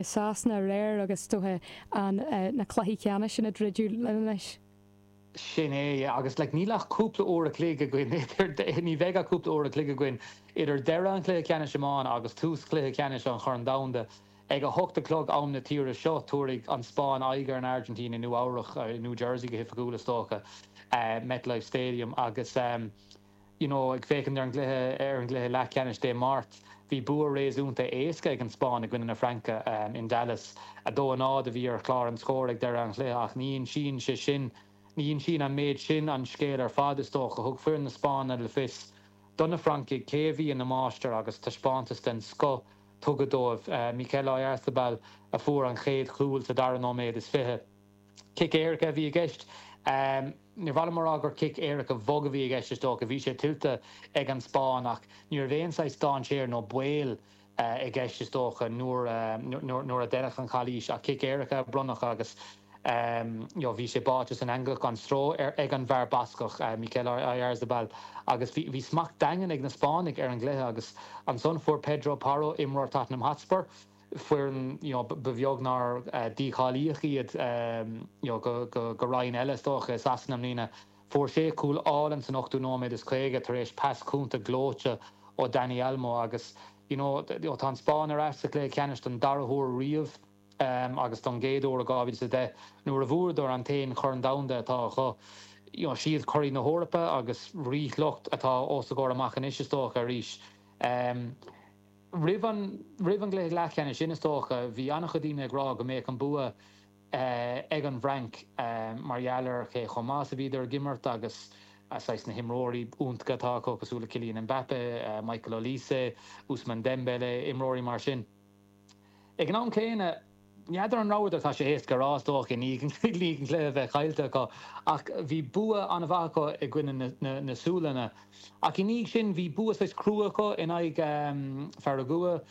Sasana aréir agus is dócha an na cluichí ceannais sin ag druidim linn anois. Sin é, yeah, agus like níl ach cúpla uair a chloig againn idir, ní bheidh ach cúpla uair a chloig againn idir deireadh an chluiche ceannais iomána agus tús chluiche ceannais an Chorn Domhanda. Ag a hocht a chlog am na tíre seo, tabharfaidh an Spáinn aghaidh ar an Airgintín i Nua Eabhrach, i New Jersey go hoifigiúil is dócha, MetLife Stadium agus you know ag féachaint ar an gcluiche ar an gcluiche leathcheannais Dé Máirt, bhí bua réasúnta éasca ag an Spáinn i gcoinne na Fraince in Dallas. 2-0 a bhí ar chlár an scóir ag deireadh an chluiche ach ní insíonn sé sin, ní insíonn an méid sin an scéal ar fad is dócha. Thug foireann na Spáinne le fios do na Francaigh cé a bhí ina máistir agus taispeántas den scoth tugtha dóibh. Mikel Oyarzabal a fuair an chéad chúl sa dara nóiméad is 20. Cic éirice a bhí i gceist. Níor mhaith liom a rá gur cic éirice bhog a bhí i gceist is dócha, bhí sé tuillte ag an Spáinn ach ní raibh aon saghas dainséar nó baol i gceist is dócha nuair a deineadh an chalaois ach cic éirice a bronnadh agus bhí sé báite san eangach gan stró ag an bhfear Bascach, Mikel Oyarzabal agus bhí smacht daingean ag na Spáinnigh ar an gcluiche agus ansan fuair Pedro Porro, imreoir Tottenham Hotspur, foireann you know ba bheag nár dícháilíodh iad you know go roinn eile is dócha i Sasana i mbliana. Fuair sé cúl álainn san ochtú nóiméad is 50 tar éis pas cúnta gleoite ó Dani Olmo agus you know tá an Spáinn ar ais sa chluiche ceannais don dara huair riamh agus don gcéad uair ó 2010 nuair a bhuadar an t-aon Chorn Domhanda atá acu. You know siad curaidh na hEorpa agus ríshliocht atá os a gcomhair amach anois is dócha arís. Roimh an roimh an gcluiche leathcheannais sin is dócha bhí an-chuid daoine ag rá go mbeadh an bua ag an bhFrainc mar gheall ar cé chomh maith is a bhíodar ag imirt agus saghas na himreoirí iontacha atá acu cosúil le Kylian Mbappe, Michael Olise, Ousmane Dembele, imreoirí mar sin. Ag an am céanna, n'fheadar an rabhadar, tá sé éasca a rá is dócha i ndiaidh an cluiche a bheith caillte acu, ach bhí bua an-mhaith acu i gcoinne na Sualainne. Ach i ndiaidh sin bhí bua saghas crua acu in aghaidh Pharagua.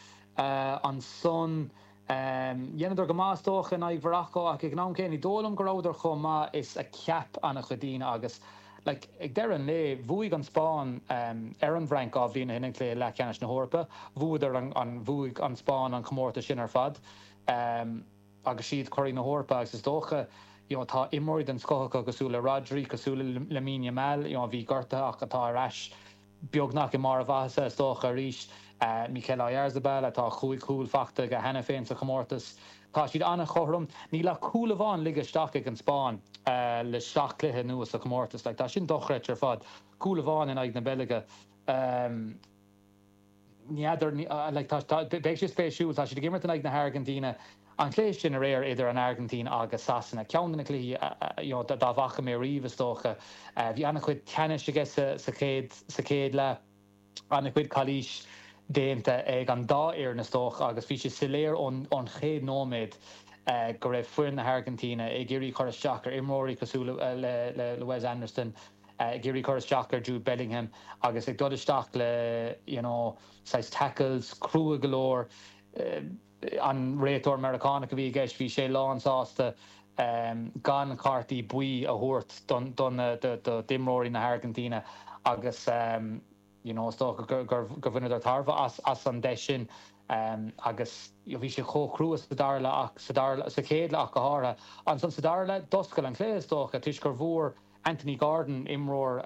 Ansan dheineadar go maith is dócha in aghaidh Mhorocco ach ag an am céanna ní dóigh liom go rabhadar chomh maith is a cheap an-chuid daoine agus like ag deireadh an lae bhuaigh an Spáinn ar an bhFrainc 2 bhliain ó shin i gcluiche leathcheannais na hEorpa. Bhuadar an bhuaigh an Spáinn an comórtas sin ar fad agus siad curaidh na hEorpa agus is dócha you know tá imreoirí den scoth acu cosúil le Rodri, cosúil le Lamine Yamal you know a bhí gortaithe ach atá ar ais beagnach i mbarr a mhaitheasa is dócha arís. Mikel Oyarzabal atá chúig chúl faighte aige cheana féin sa chomórtas. Tá siad an-chothrom. Níl ach cúl amháin ligthe isteach ag an Spáinn le seacht gcluiche anuas sa chomórtas. Like tá sin dochreidte ar fad. Cúl amháin in aghaidh na Beilge. N'fheadar, like tá, tá, beidh sé spéisiúil. Tá siad ag imirt in aghaidh na hAirgintíne. An cluiche sin aréir idir an Airgintín agus Sasana, ceann de na cluichí you know dá bhfaca mé riamh is dócha. Bhí an-chuid teannais aige sa chéad, sa chéad leath. An-chuid calaois déanta ag an dá fhoireann is dócha agus bhí sé soiléir ón chéad nóiméad go raibh foireann na hAirgintíne ag iarraidh cur isteach ar imreoirí cosúil le Wes Anderson, ag iarraidh cur isteach ar Jude Bellingham agus ag dul isteach le you know saghas tackles crua go leor. An réiteoir Meiriceánach a bhí i gceist, bhí sé lánsásta gan cártaí buí a thabhairt d'imreoirí na hAirgintíne agus you know is dócha gur bhaineadar tairbhe as an deis sin agus bhí sé chomh crua sa dara leath ach sa dara sa chéad leath ach go háirithe. Ansan sa dara leath, d'oscail an cluiche is dócha toisc gur bhfuair Anthony Gordon, imreoir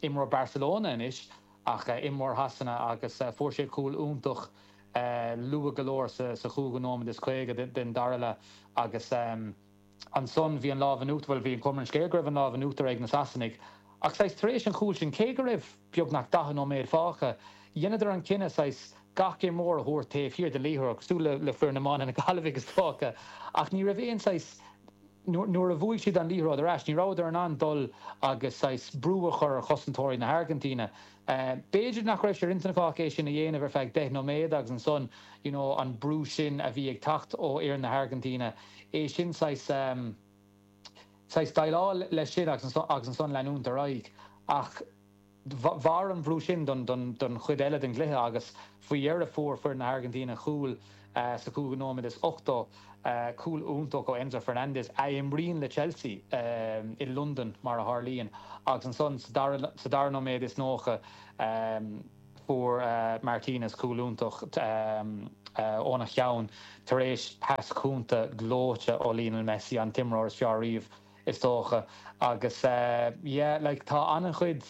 imreoir Barcelona anois ach imreoir Shasana agus fuair sé cúl iontach luath go leor sa chúigiú nóiméad is 50 den dara leath agus ansan bhí an lámh in uachtar, bhuel bhí an chuma ar an scéal go raibh an lámh in uachtar ag na Sasanaigh ach saghas tar éis an chúil sin, cé go raibh beagnach 40 nóiméad fágtha, dheineadar an cinneadh saghas gach imreoir a thabhairt taobh thiar den liathróid, cosúil le foireann iomána na Gaillimhe is dócha, ach ní raibh aon saghas. Nuair a bhuaigh siad an liathróid ar ais, ní rabhadar in ann dul agus saghas brú a chur ar chosantóirí na hAirgintíne. B'fhéidir nach raibh sé ar intinn acu ach é sin a dhéanamh ar feadh 10 nóiméad agus ansan you know an brú sin a bhí ag teacht ó fhoireann na hAirgintíne, é sin saghas, saghas déileáil leis sin agus ansan leanúint ar aghaidh. Ach. Mhair an brú sin don chuid eile den gcluiche agus faoi dheireadh fuair foireann na hAirgintíne cúl sa chúigiú nóiméad is 80, cúl iontach ó Enzo Fernandez, a imríonn le Chelsea i Londain mar a tharlaíonn, agus ansan sa dara nóiméad is 90 fuair Martinez cúl iontach. óna cheann tar éis pas cúnta gleoite ó Lionel Messi, an t-imreoir is fearr riamh is dócha. Agus yeah like tá an-chuid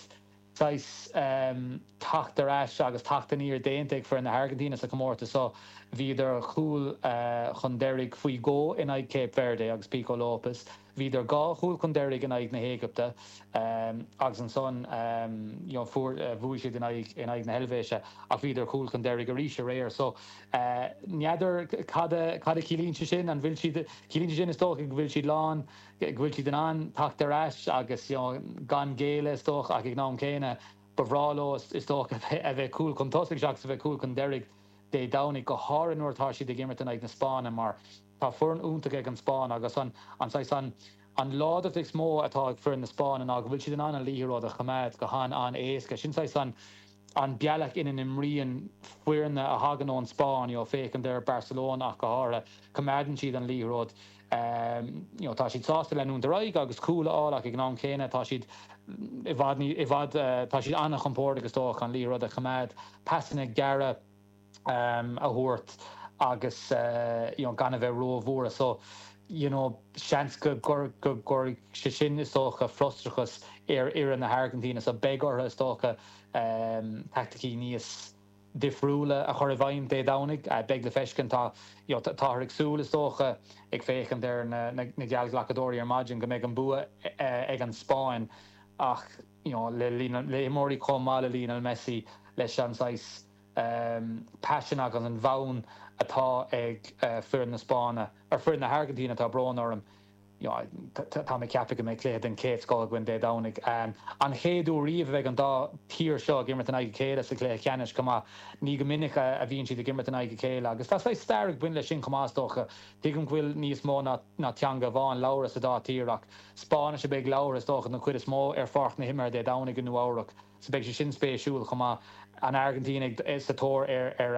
saghas teacht ar ais agus teacht aniar déanta ag foireann na hAirgintíne sa chomórtas seo. Bhíodar cúl chun deiridh faoi dhó in aghaidh Cape Verde agus Pico Lopes. Bhíodar 2 chúl chun deiridh in aghaidh na hÉigipte agus ansan you know fuair, bhuaigh siad in aghaidh, in aghaidh na hEilvéise ach bhíodar cúl chun deiridh arís aréir. So n'fheadar cad a, cad a chiallaíonn sé sin, an bhfuil siad, ciallaíonn sé sin is dócha go bhfuil siad lán, go bhfuil siad in ann teacht ar ais agus you know gan géilleadh is dócha ach ag an am céanna ba bhreá leo is dócha a bheith cúl chun tosaigh seachas a bheith cúl chun deiridh Dé Domhnaigh, go háirithe nuair atá siad ag imirt in aghaidh na Spáinne mar tá foireann iontach ag an Spáinn agus an an saghas an an láidreacht is mó atá ag foireann na Spáinne ná go bhfuil siad in ann an liathróid a choimeád go han-an-éasca. Sin saghas an an bealach ina n-imríonn foirne a thagann ón Spáinn, you know, féachaint ar Barcelona ach go háirithe, coimeádann siad an liathróid, you know, tá siad sásta leanúint ar aghaidh agus cúl a fháil ach ag an am céanna tá siad i bhfad ní, i bhfad, tá siad an-chompordach is dócha an liathróid a choimeád, pasanna gearra a thabhairt agus you know, gan a bheith róbhuartha. So, you know, seans go gcuirfidh sé sin is dócha frustrachas ar fhoireann na hAirgintíne so beidh orthu is dócha taicticí níos difriúla a chur i bhfeidhm Dé Domhnaigh. Beidh le feiscint. Tá, you know, táthar ag súil, is dócha, ag féachaint ar na geallghlacadóirí ar maidin, go mbeidh an bua ag an Spáinn ach, you know, le le himreoirí chomh maith le Lionel Messi, leis an saghas paisean agus an fonn atá ag foireann na Spáinne, ar foireann na hAirgintíne, tá brón orm. Tá mé ag ceapadh go mbeidh cluiche den chéad scoth againn Dé Domhnaigh. An chéad uair riamh a bheidh an dá thír seo ag imirt in aghaidh a chéile sa chluiche ceannais chomh maith. Ní go minic a bhíonn siad ag imirt in aghaidh a chéile agus tá saghas stair ag baint leis sin chomh maith is dócha. Tuigim go bhfuil níos mó ná teanga amháin labhartha sa dá thír ach Spáinnis a bheidh labhartha is dócha den chuid is mó ar pháirc na himeartha Dé Domhnaigh i Nua-Eabhrac so beidh sé sin spéisiúil chomh maith. An Airgintín sa tóir ar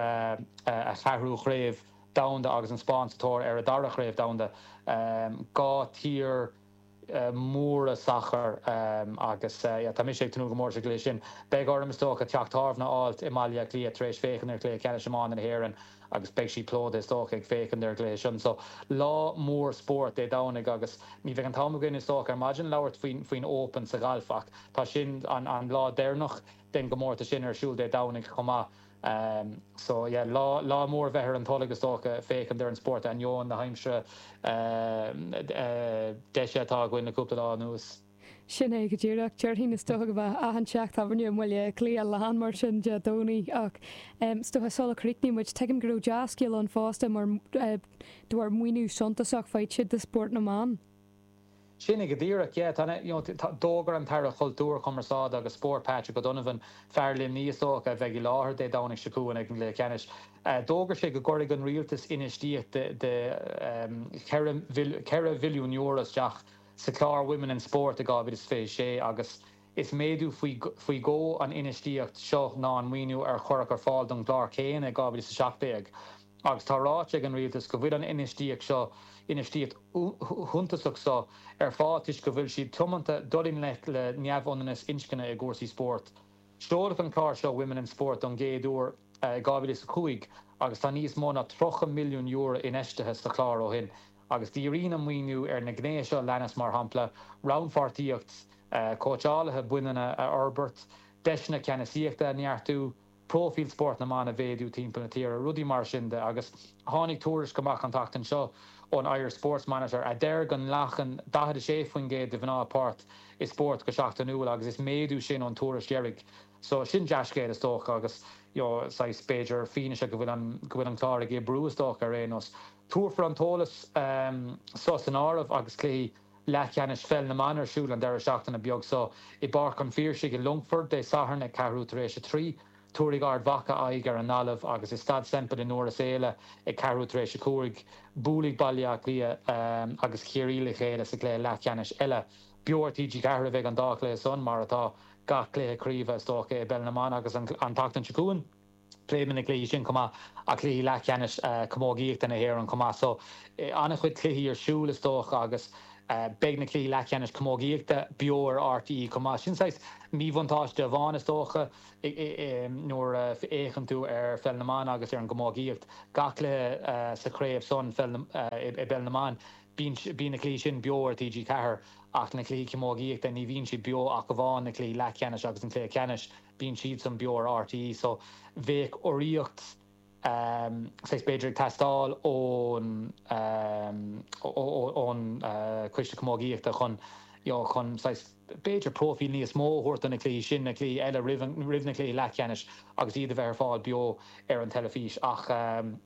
a cheathrú chraobh. Domhanda agus an Spáinn sa tóir ar a dara Chraobh Domhanda. 2 tír mhóra sacair agus tá mise ag tnúth go mór leis an gcluiche sin. Beidh orm is dócha teach tábhairne a fháilt i mBaile Átha Cliath tar éis féachaint ar chluiche ceannais iomána na hÉireann agus beidh sí plódaithe is dócha ag féachaint ar an gcluiche sin. So lá mór spóirt Dé Domhnaigh agus ní bheidh an t-am againn is dócha ar maidin labhairt faoin Open sa ghalf ach tá sin an lá deireanach den gcomórtas sin ar siúl Dé Domhnaigh chomh maith. So yeah, lá, lá mór a bheith ar an tolg is dócha, féachaint ar an spórt ainneoin na haimsire deise atá againn le cúpla lá anuas. Sin é go díreach. Déarfainn is dócha go mbeadh achan teach tábhairne i mBaile Átha Cliath lán mar sin Dé Domhnaigh ach is dócha sula críochnaíonn muid, tuigim go raibh dea-scéal ann fosta mar de bharr maoiniú suntasach faighte do spórt na mban. Sin é go díreach, yeah. Tá, you know, d'fhógair an tAire Cultúir, Cumarsáide agus Spóirt, Patrick O'Donovan, fear Luimnigh is dócha, a bheidh i láthair Dé Domhnaigh seo chugainn ag an gcluiche ceannais, d'fhógair sé go gcuirfidh an rialtas infheistíocht de €4 mhilliún isteach sa chlár Women in Sport i 2026 agus is méadú faoi dhó an infheistíocht seo ná an maoiniú ar cuireadh ar fáil don gclár céanna i 2017. Agus tá ráite ag an rialtas go bhfuil an infheistíocht seo, infheistíocht shuntasach seo, ar fáil toisc go bhfuil siad tiomanta dul i ngleic le neamhionannas inscne i gcúrsaí spóirt. Seoladh an clár seo Women in Sport don gcéad uair i 2005 agus tá níos mó ná €30 milliún infheistithe sa chlár ó shin agus díríonn an maoiniú ar na gnéithe seo a leanas, mar shampla, rannpháirtíocht cóitseálaithe baineanna a fhorbairt, deiseanna ceannasaíochta a neartú, próifíl spórt na mban a mhéadú timpeall na tíre, rudaí mar sin de. Agus tháinig tuairisc amach an tseachtain seo ón Irish Sports Monitor a deir go nglacann 46% de mhná páirt i spórt go seachtainiúil agus is méadú sin ón tuairisc dheiridh. So sin dea-scéal is dócha agus you know saghas b'fhéidir fianaise go bhfuil an go bhfuil an clár ag oibriú is dócha ar aon nós. Tabharfar an t-eolas so san áireamh agus cluichí leathcheannais pheil na mban ar siúl an deireadh seachtaine beag so i bPáirc an Phiarsaigh i Longfort Dé Sathairn ag ceathrú tar éis a 3. Tabharfaidh Ard Mhacha aghaidh ar an nGaillimh agus i Staid Semple i nDoire Sáile ag ceathrú tar éis a 5, buailfidh Baile Átha Cliath agus Ciarraí le chéile sa gcluiche leathcheannais eile. Beo ar TG4 a bheidh an dá chluiche san, mar atá gach cluiche craoibhe is dócha i bpeil na mban agus an tseachtain seo chugainn. Pléifimid na cluichí sin chomh maith ach cluichí leathcheannais camógaíochta na hÉireann chomh maith. So, an-chuid cluichí ar siúl is dócha agus. Beidh na cluichí leathcheannais camógaíochta beo ar RTÉ chomh maith. Sin saghas míbhuntáiste amháin is dócha nuair a fhéachann tú ar Pheil na mBan agus ar an gcamógaíocht. Gach cluiche sa chraobh san i bPeil na mBan, bíonn na cluichí sin beo ar TG4 ach na cluichí camógaíochta ní bhíonn siad beo ach amháin na cluichí leathcheannais agus an cluiche ceannais, bíonn siadsan beo ar RTÉ. So bheadh urraíocht. saghas b'fhéidir ag teastáil ón ón Coiste Camógaíochta chun you know chun saghas b'fhéidir próifíl níos mó a thabhairt do na cluichí sin, na cluichí eile roimh an roimh na cluichí leathcheannais agus iad a bheith ar fáil beo ar an teilifís. Ach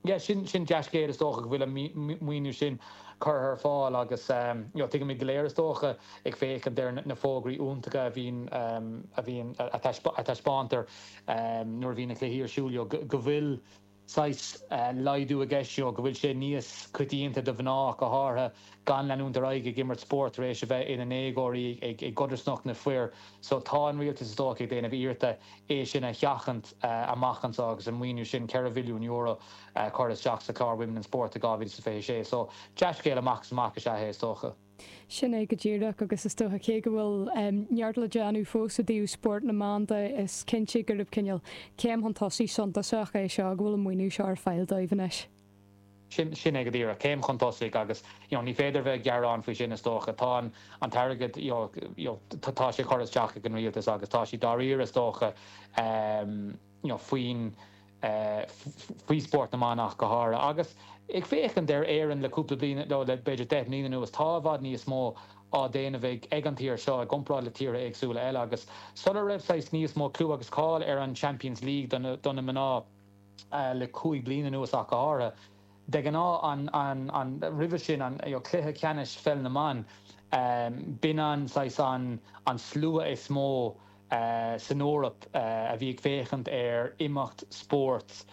yeah sin sin dea-scéal is dócha go bhfuil an maoiniú sin curtha ar fáil agus you know tuigimid go léir is dócha ag féachaint ar na fógraí iontacha a bhíonn a bhíonn a taispeántar nuair a bhíonn na cluichí ar siúl, go bhfuil saghas laghdú i gceist, go bhfuil sé níos coitianta do mhná, go háirithe, gan leanúint ar aghaidh ag imirt spóirt tar éis a bheith ina ndéagóirí i gcodarsnacht na fir. So tá an rialtas is dócha ag déanamh iarrachta é sin a sheachaint amach anseo agus an maoiniú sin, €4 mhilliún, a chur isteach sa chlár Women in Sport do 2026. So dea-scéal amach is amach is ea é is dócha. Sin é go díreach, agus is dócha cé go bhfuil neart le déanamh fós i dtaobh spórt na mban de, is cinnte gurb cineál céim chun tosaigh suntasach é seo go bhfuil an maoiniú seo ar fáil dóibh anois. Sin é go díreach, céim chun tosaigh agus you know ní féidir bheith ag gearán faoi sin is dócha. Tá an an t-airgead you know you know tá sé curtha isteach ag an rialtas agus tá siad dáiríre is dócha you know faoin faoi spórt na mban ach go háirithe. Agus ag féachaint ar Éirinn le cúpla bliain, nó le b'fhéidir 10 mbliana anuas, tá i bhfad níos mó á déanamh ag ag an tír seo i gcomparáid le tíortha éagsúla eile. Agus sula raibh saghas níos mó clú agus cáil ar an Champions League do na do na mná le 5 bliana anuas ach go háirithe, de ghnáth an an an roimhe sin an you know cluiche ceannais pheil na mban, b'in an saghas an an slua is mó san Eoraip a bhí ag féachaint ar imeacht spóirt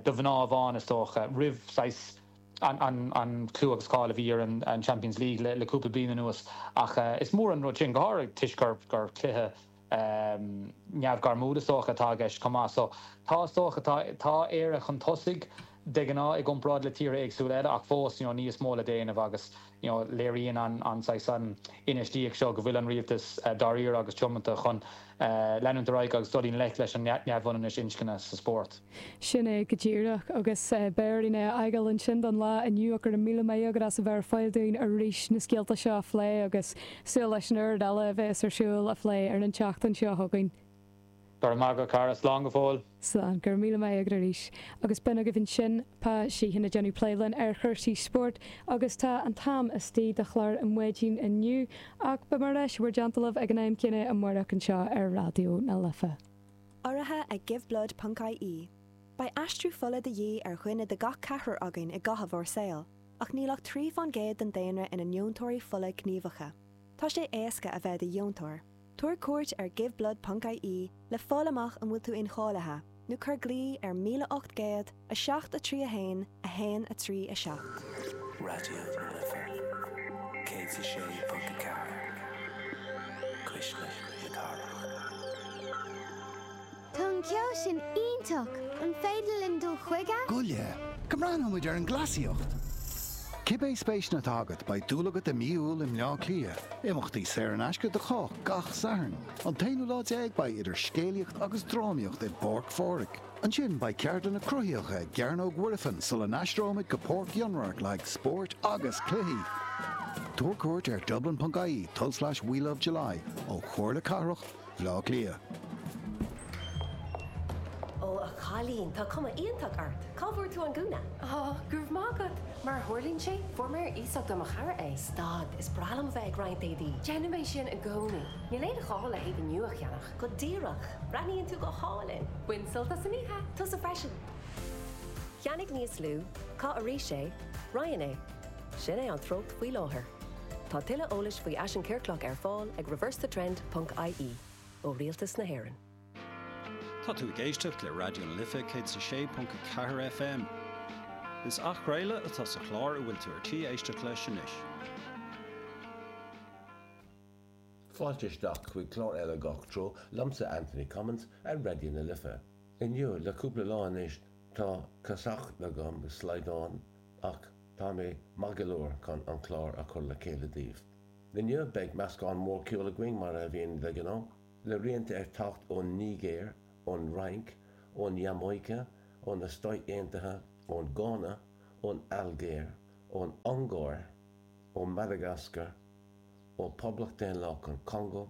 do mhná amháin, is dócha, roimh saghas an clú agus cáil a bhí ar an Champions League le cúpla bliain anuas. Ach is mór an rud sin, go háirithe toisc gur cluiche neamhghairmiúil, is dócha, atá i gceist chomh maith. So tá, is dócha, tá Éire chun tosaigh de ghnáth i gcomparáid le tíortha éagsúla eile ach fós, you know, níos mó le déanamh agus. you know léiríonn an an saghas an infheistíocht seo go bhfuil an rialtas dáiríre agus tiomanta chun leanúint ar aghaidh agus dul i ngleic leis an neamhionannas inscne sa spórt. Sin é go díreach agus beidh orainn é a fhágáil ansin don lá inniu ach go raibh míle maith agat as a bheith ar fáil dúinn arís na scéalta seo a phlé agus súil leis an oiread eile a bheas ar siúl a phlé ar an tseachtain seo chugainn. Go raibh maith agat, a chara. Slán go fóill. Slán. Go raibh míle maith agat arís. Agus b'in agaibh ansin Pa Sheehan ag déanamh plé linn ar chúrsaí spóirt agus tá an t-am istigh do chlár an mhaidin inniu ach beidh mé ar ais i bhur dteannta libh ag an am céanna amárach anseo ar Raidió na Life. Urraithe ag Giveblood ponc ie. Beidh aistriú fola de dhíth ar dhuine de gach ceathrar againn i gcaitheamh ár saoil, ach níl ach 3 fán gcéad den daonra ina ndeontóirí fola gníomhacha. Tá sé éasca a bheith i do dheontóir. Tabhair cuairt ar giveblood ponc ie le fáil amach an bhfuil tú incháilithe, nó cuir glao ar 1800 7 3 1 1 3 7. Raidió na Life 106.4, Cuisle na Cathrach. Tá an ceol sin iontach! An féidir linn dul chuige? Gabh i leith, go mbreathnóidh muid ar an gcleasaíocht! Cibé spéiseanna atá agat, beidh dúil agat i mí Iúil i mBleá Cliath. Imeachtaí saor in aisce do chách gach Satharn. An t-aonú lá déag beidh idir scéalaíocht agus drámaíocht i bPáirc Phádraig. Ansin beidh ceardlanna cruthaitheacha i gCearnóg Mhuirfean sula n-aistreoimid go Páirc Fhionnradhairc le haghaidh spóirt agus cluichí. Tabhair cuairt ar dublin.ie tulslais WeLoveJuly ó Chomhairle Cathrach Bhleá Cliath. Ó, a chailín, tá cuma iontach ort! Cá bhfuair tú an gúna? Á, go raibh maith agat! Mar a tharlaíonn sé, fuair mé ar iasacht ó mo chara é. Stad, is breá liom a bheith ag roinnt éadaí. Déanaim é sin i gcónaí. Níl aon ghá le héadaí nua a cheannach. Go díreach! Breathnaíonn tú go hálainn! Bain sult as an oíche! Tusa freisin! Ceannaigh níos lú, caith arís é, roinn é. Sin é an treocht faoi láthair. Tá tuilleadh eolais faoi fhaisean ciorclach ar fáil ag reversethetrend ponc ie ó Rialtas na hÉireann. Tá tú ag éisteacht le Raidió na Life 106.4 FM. Is athchraoladh atá sa chlár a bhfuil tú ar tí éisteacht leis anois. Fáilte isteach chuig clár eile Gach Treo liomsa Anthony Cummins ar Raidió na Life. Inniu, le cúpla lá anois, tá casacht agam, slaghdán, ach tá mé maith go leor chun an clár a chur le chéile daoibh. Inniu beidh meascán mór ceoil againn mar a bhíonn de ghnáth, le rianta ag teacht ón Nigéir, ón Fhrainc, ón Iamáice, ó na Stáit Aontaithe, ón Gána, ón Ailgéir, ón Ungáir, ó Mhadagascar, ó Poblacht Daonlathach an Chongó,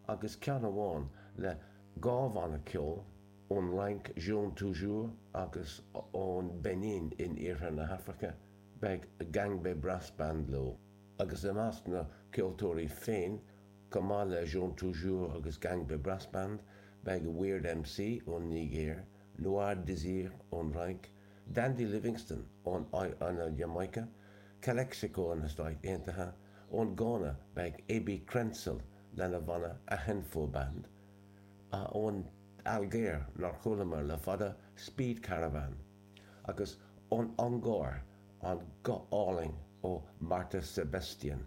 agus ceann amháin le dha bhanna ceoil ón Fhrainc, Jaune Toujours, agus ón Beinin in iarthar na hAfraice, beidh Gangbe Brass Band leo. Agus i measc na gceoltóirí féin, chomh maith le Jaune Toujours agus Gangbe Brass Band, beidh Weird MC ón Nigéir, Noir Désir ón Fhrainc, Dandy Livingstone ón Iamáice, Calexico ó na Stáit Aontaithe, ón Gána beidh AB Crentsil lena bhanna Ahenfo Band, ón Ailgéir, nár chualamar le fada, Speed Caravan, agus ón Ungáir, an guth álainn ó Marta Sebestyén.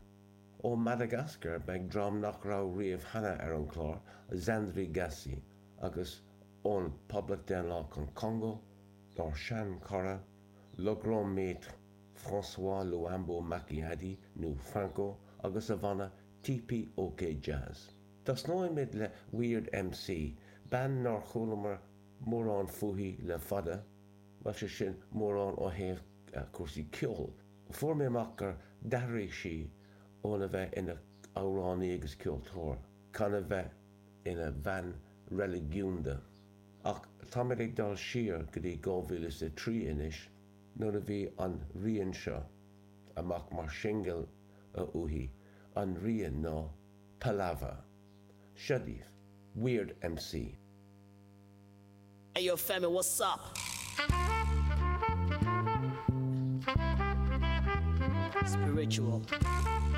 Ó Madagascar beidh dream nach raibh riamh cheana ar an chlár, Zandry Gasy, agus ón Poblacht Daonlathach an Chongó, ár sean-chara, Le Grand Maître François Luambo Makiadi nó Franco agus a bhanna TPOK Jazz. Tosnóimid le Weird MC, bean nár chualamar mórán fúithi le fada, bhuel sé sin mórán ó thaobh cúrsaí ceoil. Fuair mé amach gur d'athraigh sí óna bheith ina amhránaí agus ceoltóir chun a bheith ina bhean reiligiúnda. Ach táimid ag dul siar go dtí 2003 anois nuair a bhí an rian seo amach mar shingil uaithi, an rian ná Palava. Seo daoibh, Weird MC. Hey yo Femi, what's up? Spiritual.